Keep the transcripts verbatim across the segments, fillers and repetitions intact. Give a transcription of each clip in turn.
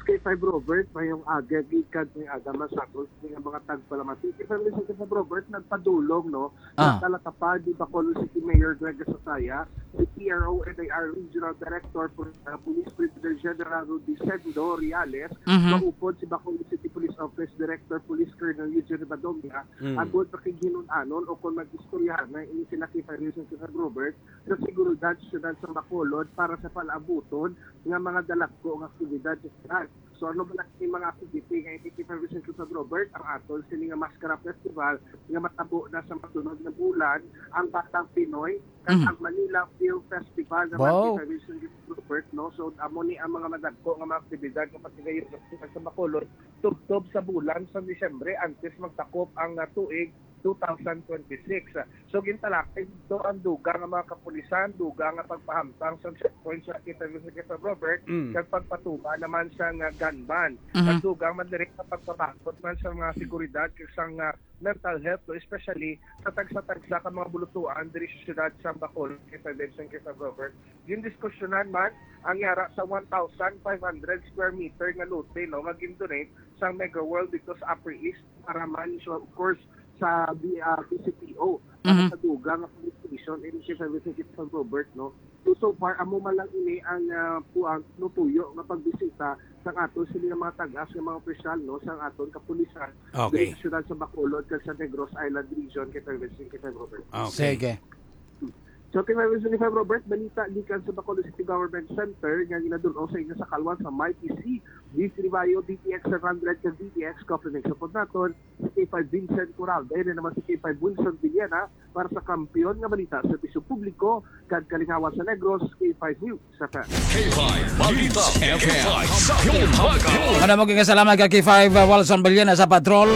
K five Robert, mayong aga, gikan may aga man sa aton nga mga tagpalamati. K five Listen, K five Robert, nagpadulong, no? Ah. Natalakapad ni Bacolod City Mayor Greg Gasataya, si P R O N I R Regional Director, Pol-, uh, Police Brigadier General Rudisendo Reales, Mhm. maupod si Bacolod City Police Office Director Police Colonel Eugene Badonga, Mm. agod pakighinun-anon o kung mag-istoryahan na ini sila K five Listen, K five Robert, sa seguridad sa siyudad sa Bacolod para sa palabuton nga mga dalagko nga aktibidad sa siyudad. So, ano ba na yung mga activity nga hindi kita Vicente Robert, ang aton sini nga Maskara Festival nga matabo na sa masunod nga bulan, ang Batang Pinoy, kag Mhm. ang Manila Film Festival naman Wow. kita Vicente Robert, no? So, amo ni ang mga madagko nga mga aktibidad nga patigayon sa Bacolod, tubtob sa bulan sa Disyembre, antes magtakop ang, ah, tuig two thousand twenty-six. So, gintalakay dito ang dugang nga mga kapulisan, dugang nga pagpahamtang sa checkpoint sa kita Vicente Robert, Mm. kag pagpatuba naman sa nga gun ban. Mhm. Kag dugang man diri sa pagpabakod man sa mga seguridad kag sa nga mental health, no, especially sa tagsa-tagsa ka mga bulutuan diri sa siyudad sa Bacolod, kita Vincent, kita Robert. Gindiskusyonan man ang yara sa one thousand five hundred square meter nga lote, no, nga gindonate sa Mega World dito sa Upper East para man, so, of course, sa B-, ah, B C P O, para Mhm. sa dugang nga police station, ini si Vincent, kita Robert, no. So, so far, amo man lang ini ang, ah, kuan, nutuyo nga pagbisita sang aton sini nga mga tag-as nga mga opisyal, no, sang aton kapulisan Okay. diri sa siyudad sa Bacolod kag sa Negros Island Region, kay Vincent, kay Robert. Okay. Sige. So, kay Vincent, kay Robert, balita gikan sa Bacolod City Government Center nga ginadul-ong sa inyo sa kalwan sa Mighty C, D C Bayo, D T X seven hundred kag D T X Coffee Mix. Sa pod naton, si K five Vincent Coral. Dayon na naman si K five Wilson Villena para sa Kampiyon nga Balita, Serbisyo Publiko, kag Kalingawan sa Negros, K five News F M. K five Balita F M. K five Kampiyon. Ano mo, kasalamat ka, K five, uh, Wilson Villena sa patrol.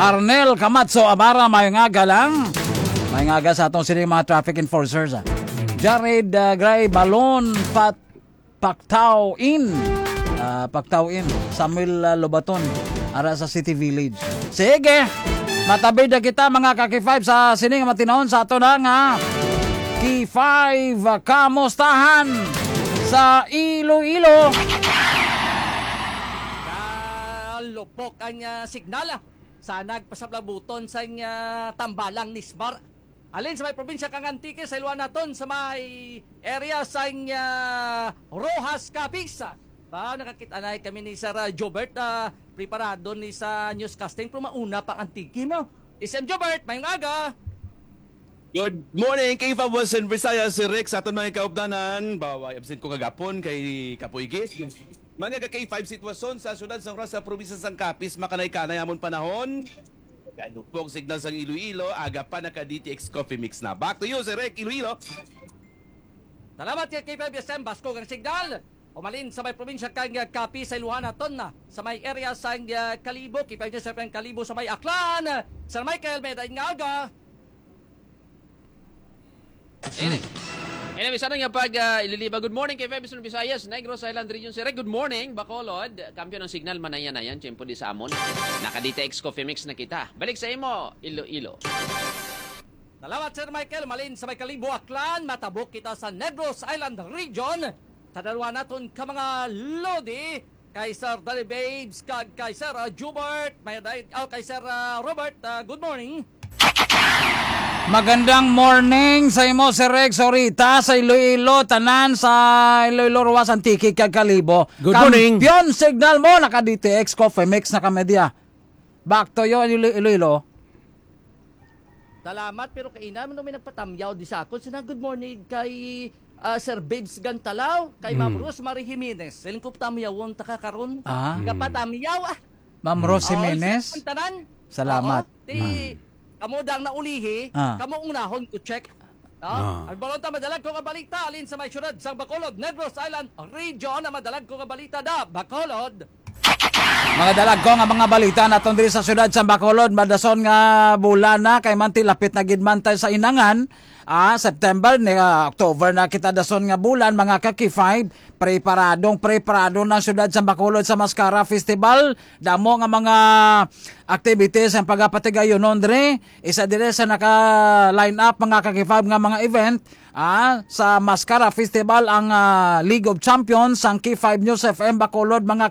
Arnel Camacho Amara, may nga galang. May nga aga sa atong sining mga traffic enforcers, ah. Jared, uh, Gray Balon, Pat Pactao In. Ah, Pactao In. Samuel, ah, Lobaton. Ara sa City Village. Sige. Matabid na kita, mga ka-K five, sa sining matinahon sa ato na nga K five, ah, kamustahan sa Iloilo. Kalupok ang, ah, signal, ah, sa nagpasaplabuton sa, ah, tambalang Nismar. Alin sa may probinsya kang Antique, sa iluan naton sa may area sa, ah, Roxas, Capiz. Ba, nakakita na kami ni Sir, ah, Jobert, ah, preparado ni sa newscasting, pero mauna pa ang Antique mo. S M Jobert, mayong aga. Good morning, K five Western Visayas, si Rex, aton mga kaupdanan. Bawa, absent ko kagapon kay Kapoy Gis. Mga ka K five, sitwasyon sa siyudad sang Roxas, probinsya sang Capiz, makanay-kanay amon panahon. Kalupok signal sang Iloilo, aga pa naka D T X Coffee Mix na. Back to you, Sir Rick, Iloilo. Salamat kay K five S M, baskog ang signal. Umalin sa may probinsya kang Capiz sa Ilocana, ton na sa may area sa, uh, Kalibo, K five News F M Kalibo sa may Aklan. Sir Michael, may daing nga aga. Ini. Anyway, sana nga pag, ah, ililiba. Good morning, K five Bisaya, Visayas, Negros Island Region, Sir. Good morning, Bacolod. Kampiyon ang signal, manayan-nayan, tiyempo di sa amon. Naka D T X Coffee Mix na kita. Balik sa imo, Iloilo. Salamat, Sir Michael. Malin sa may Kalibo, Aklan. Matabok kita sa Negros Island Region. Sa dalawa naton ka mga lodi, kay Sir Danny Babes, kag kay Sir, ah, Jubert, may day-, oh, kay Sir, ah, Robert, ah, good morning. Magandang morning sa imo, Sir Rex, Orita, sa Iloilo, tanan sa Iloilo, Roxas, Antique, kag Kalibo. Good morning. Kampiyon signal mo, naka D T X Coffee Mix na kami diya. Back to you, Ilo-, Iloilo. Salamat, pero kaina man may nagpatamyaw di sa akon. Sina, "Good morning kay, ah, Sir Babes Gantalaw, kay Ma'am Mm. Rosemary Jimenez." Siling ko, "Tamyawon ta ka karon." Ah. Kapatamyaw, ah. Ma'am Mm. Rose Oo, Jimenez? Ang tanan. Salamat. Oo. Ti, Mm. kamo dang naulihi, Ah. kamo unahon ko check. No? Ah. Ang balon ta, madalag ko nga balita, alin sa may syudad sang Bacolod, Negros Island Region, ang madalag ko nga balita da, Bacolod. Mga dalagko nga mga balita naton diri sa siyudad sa Bacolod, madason nga bulan na, kay man ti lapit na gid man tayo sa inangan. Ah, September ni, ah, October na kita dason nga bulan, mga ka-K five. Preparadong preparado na ang siyudad sa Bacolod sa Mascara Festival. Damo nga mga activities ang pagapatigayonon diri. Isa diri sa naka-line up, mga ka-K five, nga mga event, ah, sa Mascara Festival ang, ah, League of Champions sang K five News F M Bacolod, mga